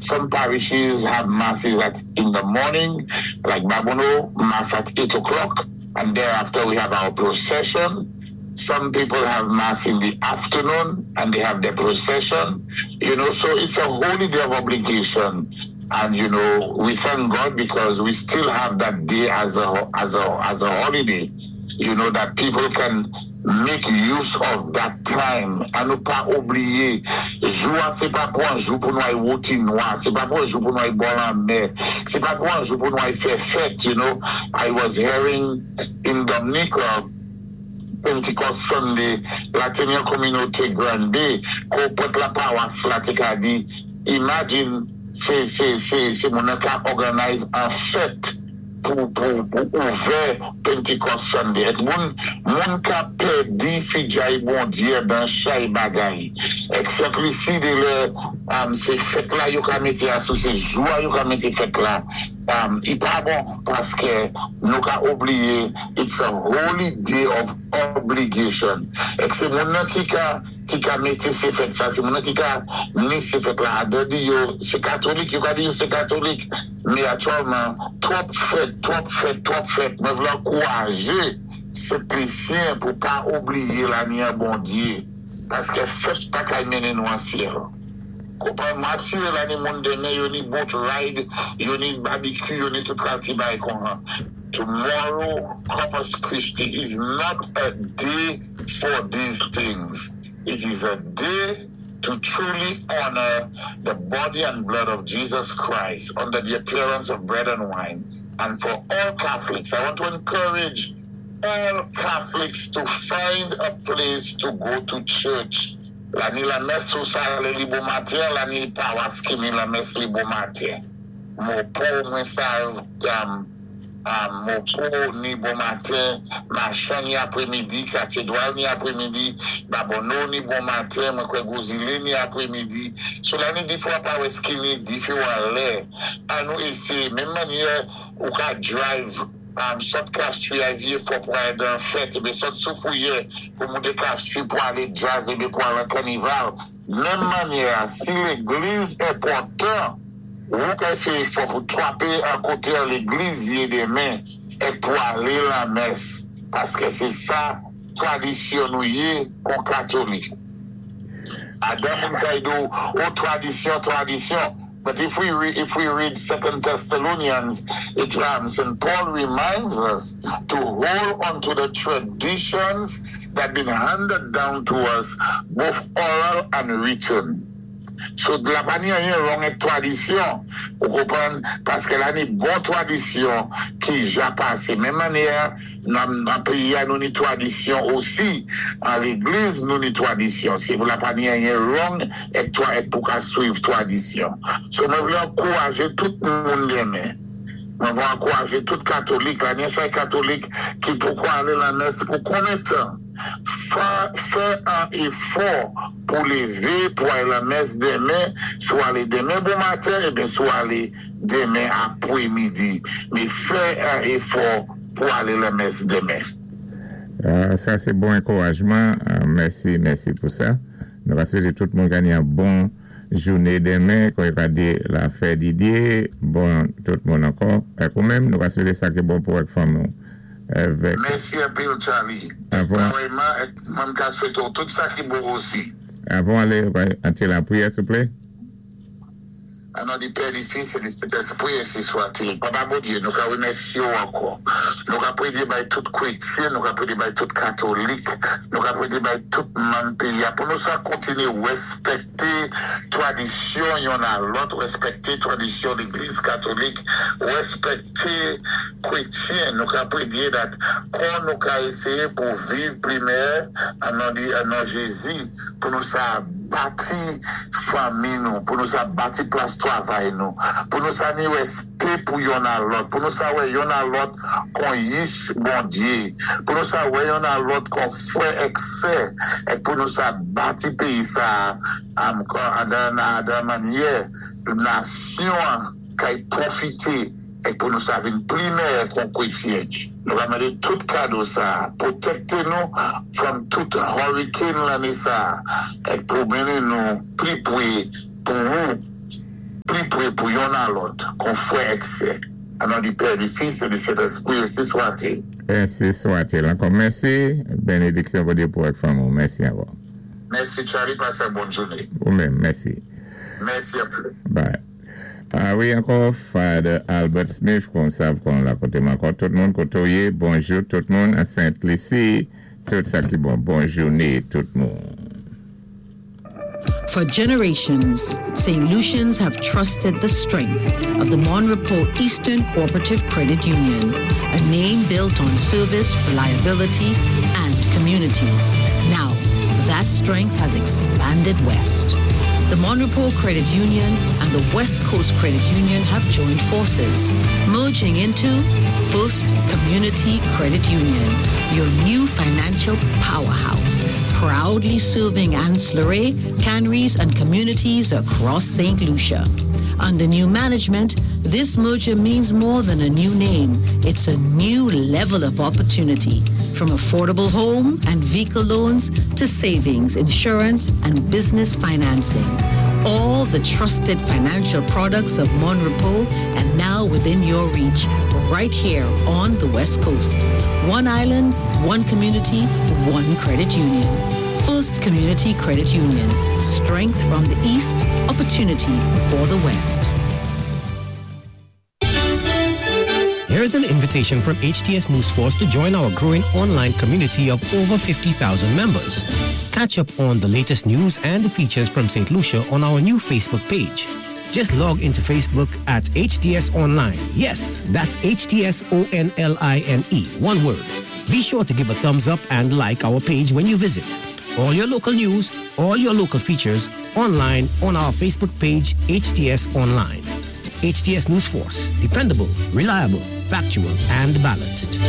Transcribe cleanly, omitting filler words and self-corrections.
Some parishes have masses at in the morning, like Babonneau, mass at 8 o'clock, and thereafter we have our procession. Some people have mass in the afternoon and they have their procession. So it's a holy day of obligation. And we thank God because we still have that day as a holiday that people can make use of that time. A nou pa oubliyé, jou a sé pa pou an jou pou nou ay woti nwa, sé pa pou an jou pou nou ay bò lanmè, sé pa pou an jou pou nou ay fè fèt. I was hearing in Dominica, Pentecost Sunday, la té ni an kominoté Grand Bay, kon prèt la pawas la té ka di, imagine, sé moun an ka organize an fèt pou ouvè Pentecost Sunday. Èk moun ka pèdi fidjay Bondyé dan chay bagay. Èk Sent Lisi de lè, sé fèt la yo ka mété asou, sé jou a yo ka mété fèt la. I pa bon, paské nou ka oubliyé, it's a holy day of obligation. Èk sé moun nan ki ka mété sé fèt sa, sé moun nan ki ka ni sé fèt la, a di yo sé katolik, yo ka di yo sé katolik, mé aktyèlman, twòp fèt, twòp fèt, twòp fèt, mwen vlé ankourajé Sent Lisyen pou pa oubliyé lani an Bondyé, paské fèt pa kay mennen nou an syèl. Konpwann, mwen asiré la ni moun denmen, yo ni boat ride, yo ni barbecue, yo ni tout kalti bay kon han. Tomorrow, Corpus Christi, is not a day for these things. It is a day to truly honor the body and blood of Jesus Christ under the appearance of bread and wine. And for all Catholics, I want to encourage all Catholics to find a place to go to church. La ni lamès sou sa li bon maten, la ni pawas ki ni lamès li bon maten. Môpò mwen sav, Môpò ni bon maten, Machan ni apwémidi, Katédwal ni apwémidi, Babonneau ni bon maten, mwen kwè Gwo Zilé ni apwémidi. So la ni difwa pawès ki ni diféwan lè. An nou éséyé, menm mannyè ou ka drive sot Castries a Vyé Fò pou alé dan fèt, ébé sot Soufrière pou mouté Castries pou alé jazz, ébé pou alé kanival. Menm mannyè, si légliz enpòtan, ou ka fè éfò pou twapé an koté an légliz yé denmen, é pou alé lamès. Paské sé sa tradisyon nou yé kon katolik. Adan moun kay di ou, "Oh, tradisyon, tradisyon." But if we read Second Thessalonians, St. Paul reminds us to hold on to the traditions that been handed down to us, both oral and written. So, la pa ni anyen wrong ak tradisyon, ou konpwann, paské la ni bon tradisyon ki ja pasé. Menm mannyè, nan péyi a nou ni tradisyon osi, an légliz nou ni tradisyon. Se pou la pa ni anyen wrong ek toa ek pou ka suiv tradisyon. So, mwen vlé ankourajé tout moun denmen. Mwen vlé ankourajé tout katolik, la ni chay katolik ki poko alé lamès pou konbyen tan. Fè an éfò pou lévé pou alé lamès denmen, sou alé denmen bon maten, ébyen sou alé denmen apwémidi. Mé fè an éfò pou alé lamès denmen. Sa sé bon ankourajman. Mèsi, mèsi pou sa. Nou va swété tout moun gagné an bon jouné denmen, kon yo ka di la fè Didier, bon tout moun ankò. Èk ou menm, nou va swété sa ki bon pou èk fanmi ou. Avèk Mèsi anpil, Charlie. Avan Vrèman, mwen ka swété ou tout sa ki bon osi. Avan alé, an ti lapriyè, souplé. An non di Pè, di Fis, é di Sentèspwi, ensi swa-t-il. Papa Bondyé, nou ka wimèsyé ou ankò. Nou ka prédyé bay tout kwétyen, nou ka prédyé bay tout katolik, nou ka prédyé bay tout manm péyi a, pou nou sa kontinyé wèspèkté tradisyon yonn a lòt, wèspèkté tradisyon légliz katolik, wèspèkté kwétyen, nou ka prédyé dat kon nou ka éséyé pou viv pli mèyè an non di an non Jézi, pou nou sa bati fanmi nou, pou nou sa bati plas twavay nou, pou nou sa ni wèspè pou yonn a lòt, pou nou sa wè yonn a lòt kon yich Bondyé, pou nou sa wè yonn a lòt kon fwè èk sè, é pou nou sa bati péyi sa am dan mannyè nasyon kay pwofité é pou nou sa vin pli mèyè kon kwétyen. Nou va mandé tout kado sa, pwotèkté nou from tout hurricane lanné sa, é pou mennen nou pli pwé pou ou. Pli pwé pou youn a lòt, kon fwè èk sè. An non di Pè, di Fis é di Sentèspwi, ensi swat-il. Ensi swat-il. Ankò mèsi. Bénédiksyon Bondyé pou èk fanmi. Mèsi ankò. Mèsi, Charlie, pasé yon bòn jouné. Ou menm, mèsi. Mèsi anpil. Bye. A wi, ankò, Father Albert Smith, kon sav kon la koté ankò tout moun koté ou yé. Bonjou tout moun a Sent Lisi. Tout sa ki bon. Bòn jouné tout moun. For generations, St. Lucians have trusted the strength of the Mon Repos Eastern Cooperative Credit Union, a name built on service, reliability, and community. Now, that strength has expanded west. The Mon Repos Credit Union and the West Coast Credit Union have joined forces, merging into First Community Credit Union, your new financial powerhouse, proudly serving Anse La Raye, Canaries, and communities across St. Lucia. Under new management, this merger means more than a new name. It's a new level of opportunity. From affordable home and vehicle loans to savings, insurance, and business financing. All the trusted financial products of Mon Repos and now within your reach, right here on the West Coast. One island, one community, one credit union. First Community Credit Union. Strength from the East, opportunity for the West. Here's an invitation from HTS News Force to join our growing online community of over 50,000 members. Catch up on the latest news and features from St. Lucia on our new Facebook page. Just log into Facebook at HTS Online. Yes, that's HTS O N L I N E, one word. Be sure to give a thumbs up and like our page when you visit. All your local news, all your local features online on our Facebook page, HTS Online. HTS News Force, dependable, reliable, factual, and balanced.